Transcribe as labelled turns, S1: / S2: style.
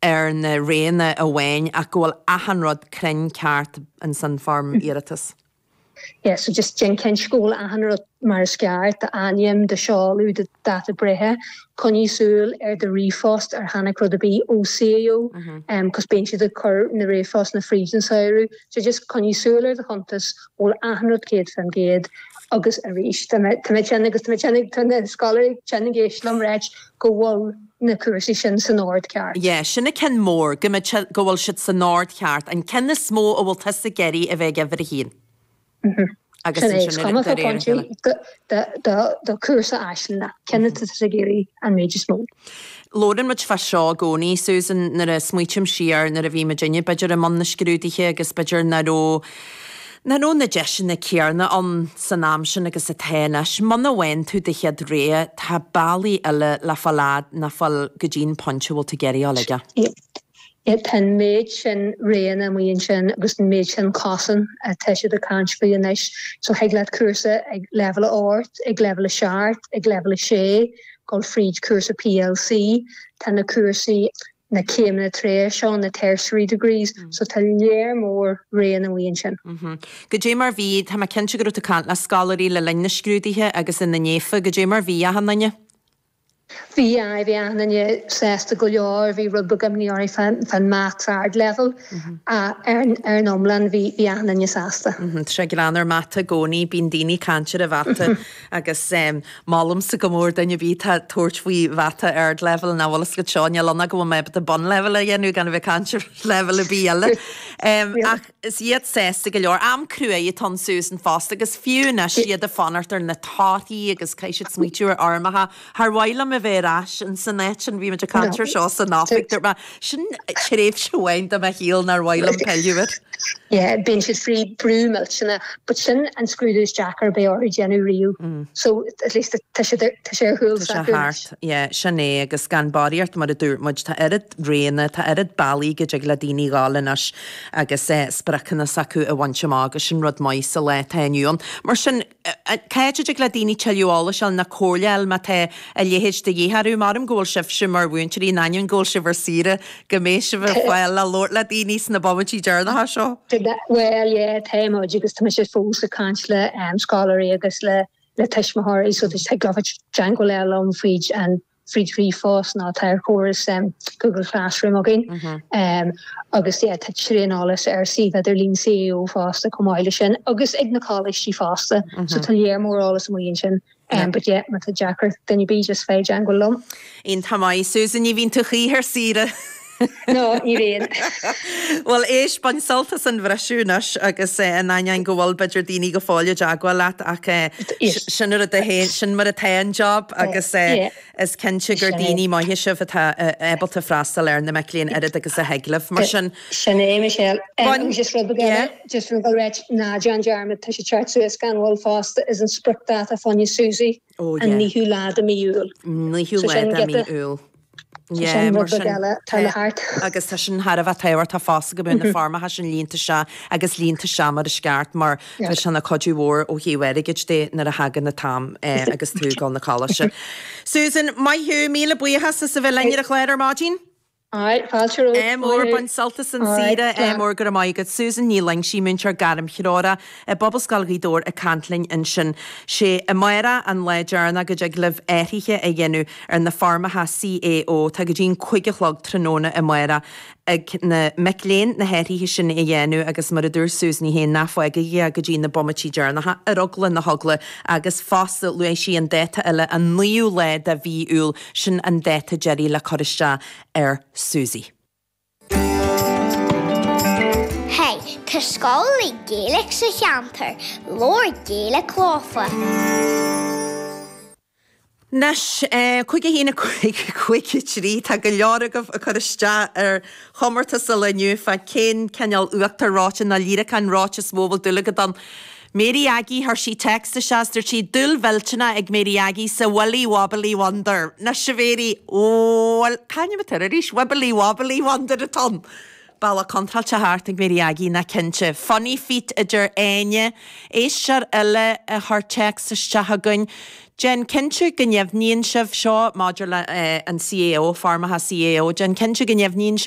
S1: ar na roghanna amháin ach go bhfuil achan rud cruinn ceart ins an foirm iarratais.
S2: Yeah, so just déan cinnte go bhfuil achan rud mar is ceart, d'ainm, do sheoladh, do dáta breithe. Coinnigh súil ar do ríomhphost ar tháinig rud ar bith ó CAO, cos bíonn siad ag cur na ríomhphostanna fríd an samhradh. So just coinnigh súil ar do chuntas, go bhfuil achan rud 100% agus arís, tá mé, tá mé tinn agus tá mé tinn ag, tá na scoláirí tinn ag éisteacht liom ráit go bhfuil na cúrsaí sin san ord ceart.
S1: Yeah, sin an ceann mór, go mbeidh sé, go bhfuil siad san ord cheart, an ceann is mó a bhfuil tusa ag iarraidh a bheith ag uimhir a haon.
S2: Agus Sin é, is ansin cuma de réir a chéile. do chúrsa Aisling, ceann atá tusa ag iarraidh an méid is mó.
S1: Labhrann muid fá seo i gcónaí, Susan, nuair a smaoitím siar nuair a bhí muidinne b'fhéidir i mbun na scrúduithe agus b'fhéidir nach raibh, nach raibh na deiseanna céarna ann san am sin agus atá anois. Muna bhfaigheann tú do chéad rogha, tá bealaí eile le fáil fhad nó fáil go dtí an pointe a bhfuil tú ag iarraidh a dhul aige.
S2: Tá an méid sin roghanna amuigh ansin agus an méid sin cosán atá siad ag caint faoi anois. So thig leat cúrsa ag leibhéal a 8, ag leibhéal a 7, ag leibhéal a 6, dul fríd cúrsa PLC. Tá na cúrsaí, na céimeanna tar éis seo, na tertiary degrees, so tá léar mór roghanna amuigh ansin.
S1: Goidé mar bhí, tá mé cinnte go raibh tú ag caint le scoláirí le linn na scrúduithe agus ina ndiaidh, goidé mar bhí achan duine?
S2: Bhí, aye, bhí achan duine sásta go leor, bhí rud beag imní orthu fán Maths Ardleibhéal ach ar an iomlán bhí bhí achan duine sásta.
S1: Tá sé greannmhar mata i gcónaí, bíonn daoine ag caint ar an mhata agus molaimse go mór duine ar bith atá ag tabhairt faoi mhata ardleibhéal nach bhfuil fhios agat seo, níl ann ach go bhfuil mé ábalta bunleibhéal a dhéanamh gan a bheith ag caint ar leibhéal ar bith eile. Ach is iad sásta go leor. Am cruaidh atá ann Susan fosta agus fiú anois iad ag fanacht ar na torthaí agus caithfidh siad smaoitiú ar fhoirmeacha. Char mhaith liom a bheith ar ais in san áit sin, bhí muid ag caint ar seo san oifig, dúirt mé, sin tréimhse amháin de mo shaol nár mhaith liom pilleadh air.
S2: Yeah, bíonn siad faoi brú millteanach, but sin an scrúdú is deacra a bheidh orthu déanamh riamh. So at least tá sé tá sé ar chúl
S1: Tá sé s'acu anois. thart, yeah, sin é agus gan barraíocht mar a dúirt muid, tá oiread roghanna, tá oiread bealaí go dtig le daoine dhul anois agus spriocanna s'acu a bhaint amach agus sin rud maith sa lá atá inniu ann. Mar sin, cá háit a dtig le daoine tuilleadh eolais a fháil nó comhairle a fháil má tá a leithéid de dhíth orthu? Measaim go bhfuil sibhse mar mhúinteoirí, in ainneoin go bhfuil sibh ar saoire, go mbeidh sibh ar fáil le labhairt le daoine sna bomaití deireanacha seo.
S2: Bhuel, yeah, tá muid agus tá mise fós ag caint le scoláirí agus le le tuismitheoirí so thig leo teagmháil a dhéanamh liom fríd an fríd ríomhphost nó tá ar chóras Google Classroom againn agus yeah tá tréan eolas ar suíomh idirlín CAO fosta chomh maith leis sin agus ag na coláistí fosta so tá léar mór eolas amuigh ansin but yeah má tá deacracht ag duine ar bith just faigh i dteagmháil liom.
S1: Iontach maith Susan, ní bhíonn tú choíche ar saoire.
S2: No, ní bhíonn.
S1: Bhuel éist, bain sult as an bhriseadh anois agus in ainneoin go bhfuil b'fhéidir daoine go fóill i dteagmháil leat ach sin ar a féin, sin mar atá an job agus is cinnte gur daoine maithe sibh atá ábalta freastal ar na mic léinn oiread agus a thig libh. Mar sin.
S2: Sin é, Michelle. Agus just rud beag eile, just rud beag eile, ná déan dearmad, tá sé teacht suas gan mhoill fosta, is an spriocdháta fá choinne SUSI, an 9ú lá de mí Iúil.
S1: 9ú lá de mí Iúil.
S2: Yeah, mar sin,
S1: agus tá sin thar a bheith tábhachtach fosta go mbeadh na foirmeacha sin líonta isteach agus líonta isteach mar is ceart mar tá sé ina chuidiú mhór ó thaobh airgid de nuair a thagann an t-am agus tú ag dul na coláiste. Susan, maith thú, míle buíochas as a bheith linn ar an chlár ar maidin.
S2: Alright, fáilte romhat.
S1: Ádh mór, bain sult as an saoire, ádh mór, go raibh maith agat. Susan Ní Loingsigh, múinteoir gairmthreorach i bPobalscoil Ghaoth Dobhair ag caint linn ansin. Sé amárach an lá deireanach go dtig libh athruithe a dhéanamh ar na foirmeacha CAO. Tá go dtí an 5 a chlog tráthnóna amárach ag na mic léinn na hathruithe sin a dhéanamh agus mar a dúirt Susan í féin, ná fágaigí é go dtí na bomaití deireanacha ar eagla na heagla agus fosta luaigh sí an dáta eile an 9ú lá de mhí Iúil, sin an dáta deiridh le cur isteach ar Susi.
S3: Hey, tá scoil Gaeilge sa cheantar, labhair Gaeilge leofa.
S1: Anois, 5 1 5 5 3, tá go leor agaibh ag cur isteach ar chomórtas an lae inniu fá cén cineál uachtar reoite nó líreacán reoite is mó a bhfuil dúil agat ann. Mary Aggie, chuir sí téacs isteach is dúirt sí, dúil mhillteanach ag Mary Aggie sa Willy Wobbly Wonder. Anois a Mhary, bhuel, c'ainm atá air arís? Wibbly Wobbly Wonder atá ann. Bealach contráilte thart ag Mary Aggie, ná cinnte. Funny Feet a deir Áine. Éisteoir eile a chuir téacs isteach chugainn. Déan cinnte go ndeimhníonn sibh, seo maidir le an CAO, foirmeacha CAO, déan cinnte go ndeimhníonn sibh.